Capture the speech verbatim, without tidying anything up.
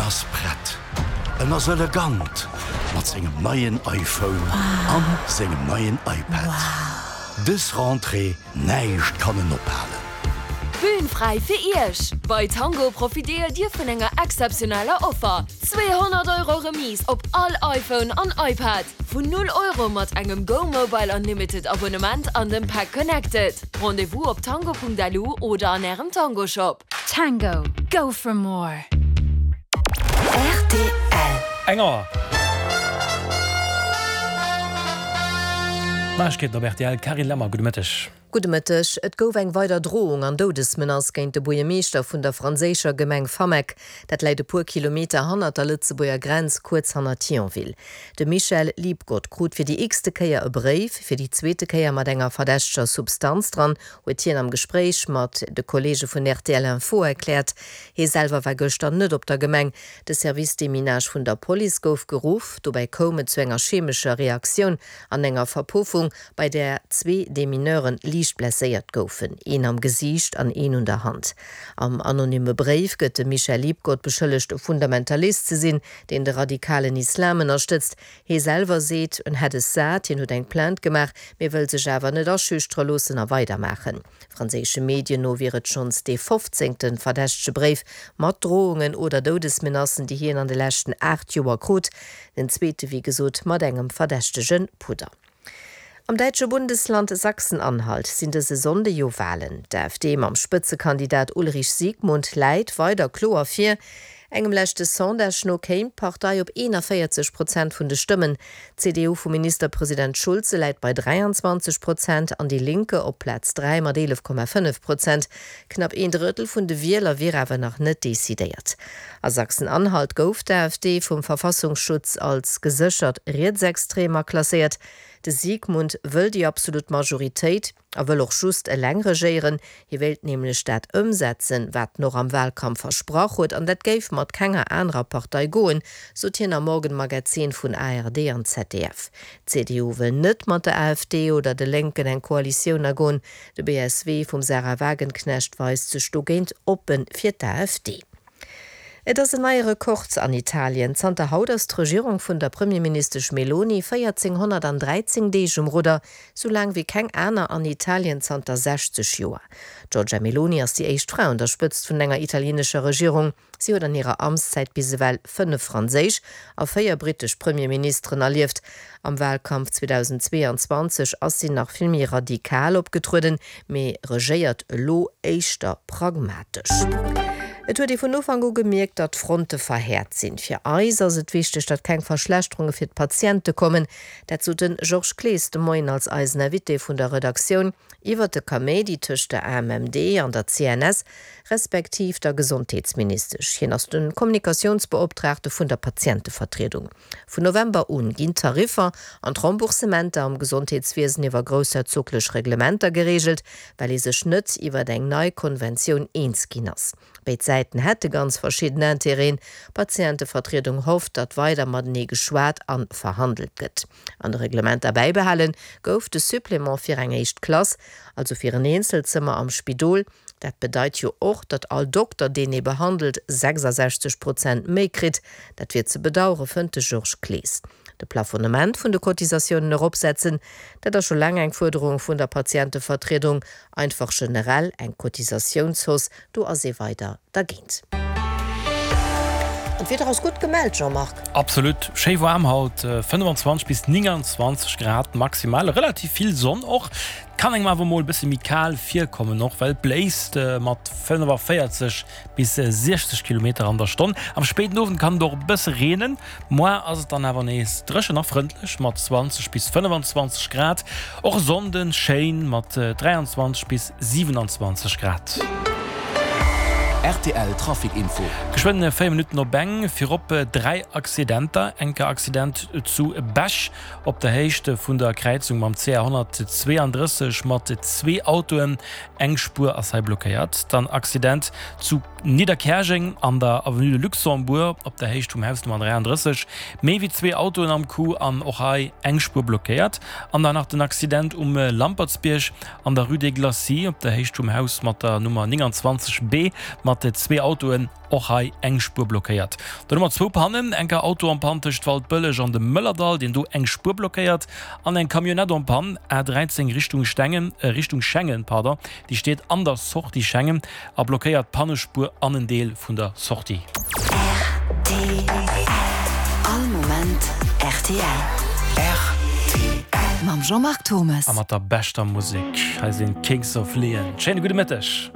ass prett, en ass elegant mat sengem neien iPhone an sengem neien iPad. Dës Rentrée, näischt kann en ophalen. Bühn fräi fir Iech! Bei Tango profitéiert Dir vun enger exzeptioneller Offer. zweehonnert Euro Remise op all iPhone an iPad. Vun null Euro mat engem Go Mobile Unlimited Abonnement an dem Pack Connected. Rendez-vous op tango Punkt L U oder an Ärem Tango Shop. Tango, go for more! R T L. Eng Auer. D'Neiegkeeten op R T L, Carine Lemmer, gudde Mëtteg. Gudde Mëtteg. Et gouf eng weider Drohung an Doudesmenace géint de Buergermeeschter vun der franséischer Gemeng Fameck. Dat läit e puer Kilometer hannert der Lëtzebuerger Grenz, kuerz hannert Thionville. De Michel Liebgott krut fir déi x-te Kéier e Bréif, fir déi zweete Kéier mat enger verdächteger Substanz dran, huet hien am Gespréich mat de Kolleege vun R T L Info erkläert. Hie selwer war gëschter net op der Gemeng. De Service Déminage vun der Police gouf geruff, dobäi koum et zu enger chemescher Reaktioun an enger Verpuffung, bei där zwee Demineuren liicht blesséiert goufen, een am Gesiicht an een un der Hand. Am anonyme Bréif gëtt de Michel Liebgott beschëllegt, e Fundamentalist ze sinn, deen de radikalen Islam ënnerstëtzt. Hie selwer seet, en hätt es sat, hien huet eng Plainte gemaach, mee wëll sech awer net aschüchtere loossen a weidermaachen. Franséische Medien no wier et schonns dee fofzéngte verdächtege Bréif mat Drohungen oder Doudesmenacen, déi hien an de leschten aacht Joer krut. Den zweete wéi gesot mat engem verdächtege Pudder. Am däitsche Bundesland Sachsen-Anhalt sinn dëse Sonnde jo Walen. D'A F D mam Spëtzekandidat Ulrich Siegmund läit weider kloer vir. Engem leschte Sondage no kéim d'Partei op eenanvéierzeg Prozent vun de Stëmmen. D'C D U vum Ministerpresident Schulze läit bei dräianzwanzeg Prozent an Die Linke op Plaz dräi mat eelef Komma fënnef Prozent. Knapp een Drëttel vun de Wieler wier awer nach net decidéiert. A Sachsen-Anhalt gouf d'A F D vum Verfassungsschutz als geséchert rietsextrem klasséiert. De Siegmund wëll déi absolut Majoritéit a wëll och just eleng regéieren. Hie wéilt nämlech dat ëmsetzen, wat en och am Walkampf versprach huet, an dat géif mat kenger anerer Partei goen, sot hien am Morgenmagazin vun A R D an Z D F. D'C D U wëll net mat der A F D oder de Lénken eng Koalitioun agoen. De B S W vum Sahra Wagenknecht weist sech dogéint oppe fir d'A F D. Et ass en neie Rekord an Italien. Zanter haut ass d'Regierung vun der Premierministesch Meloni véierzénghonnertdräizéng Deeg um Rudder, sou laang wéi keng aner an Italien zanter sechzeg Joer. D'Giorgia Meloni ass déi éischt Fra un der Spëtzt vun enger italienescher Regierung. Si huet an hirer Amtszäit bis ewell fënnef franséisch a véier brittesch Premierministeren erlieft. Am Walkampf zweedausendzweeanzwanzeg ass si nach vill méi radikal opgetrueden, mee regéiert elo éischter pragmatesch. Et huet ee vun Ufank u gemierkt, datt d'Fronte verhäert sinn. Fir eis ass et wichteg, datt keng Verschlechterunge fir d'Patiente kommen. Dat sot de Georges Clees de Moien als eisen Invité vun der Redaktioun iwwer de Kaméidi tëscht der A M M D an der C N S respektiv der Gesondheetsministesch. Hien ass de Kommunikatiounsbeoptraagte vun der Patientevertriedung. Vun November un ginn d'Tariffer an d'Remboursementer am Gesondheetswiesen iwwer groussherzoglech Reglementer gereegelt, well ee sech net iwwer eng nei Konventioun eens ginn ass. Béid Säiten hätte ganz verschidden Interêten. D'Patientevertriedung hofft, datt weider matenee geschwat a verhandelt gëtt. An de Reglementer bäibehalen gouf de Supplément fir eng éischt Klass, also fir en Eenzelzëmmer am Spidol. Dat bedeit jo och, datt all Dokter, deen ee behandelt, sechsasechzeg Prozent méi kritt. Dat wier ze bedauere, fënnt de Georges Clees. De Plafonnement vun de Cotisatiounen eropsetzen, dat ass scho laang eng Fuerderung vun der Patientevertriedung, einfach generell eng Cotisatiounshausse, do ass ee weider dergéint. An d'Wieder ass gutt gemellt, Jean-Marc. Absolut, schéi waarm haut, fënnefenzwanzeg bis nénganzwanzeg Grad maximal, relativ vill Sonn och. Kann engem awer mol e bësse méi kal virkommen och, well et bléist mat fënnefavéierzeg bis siechzeg Kilometer an der Stonn. Am spéiden Owend kann et och e bësse reenen. Moar ass et dann awer nees dréchen a frëndlech mat zwanzeg bis fënnefenzwanzeg Grad. Och e Sonnden schéin mat dräianzwanzeg bis siwenanzwanzeg Grad. R T L Trafic Info. Geschwënn véier Minutten op eng, virop dräi Accidenter. Enker Accident zu Bech op der Héicht vun der Kräizung mam C R honnertzweeandrësseg mat zwee Autoen, eng Spuer ass hei blockéiert. Dann Accident zu Nidderkäerjeng an der Avenue de Luxembourg op der Héicht vum Haus Nummer dräiandrësseg, méi wéi zwee Autoen am Coup an och hei eng Spuer blockéiert. An dann nach den Accident um Lampertsbierg an der Rue des Glacis op der Héicht vum Haus mat der Nummer nénganzwanzeg B mat mat zwee Autoen, och hei eng Spuer blockéiert. Dann hu mer zwou Pannen, enker Auto en panne tëscht Waldbëlleg an dem Mëllerdall, deen do eng Spuer blockéiert, an eng Camionnette en panne, A dräizéng Richtung Stengen, Richtung Schengen, pardon, déi steet an der Sortie Schengen a blockéiert d'Pannespuer an en Deel vun der Sortie. Rtl, All Moment rtl. Rtl. Mam Jean-Marc Thomes. A mat der beschter Musek. Hei sinn d'Kings of Leon. Schéine gudde Mëtteg.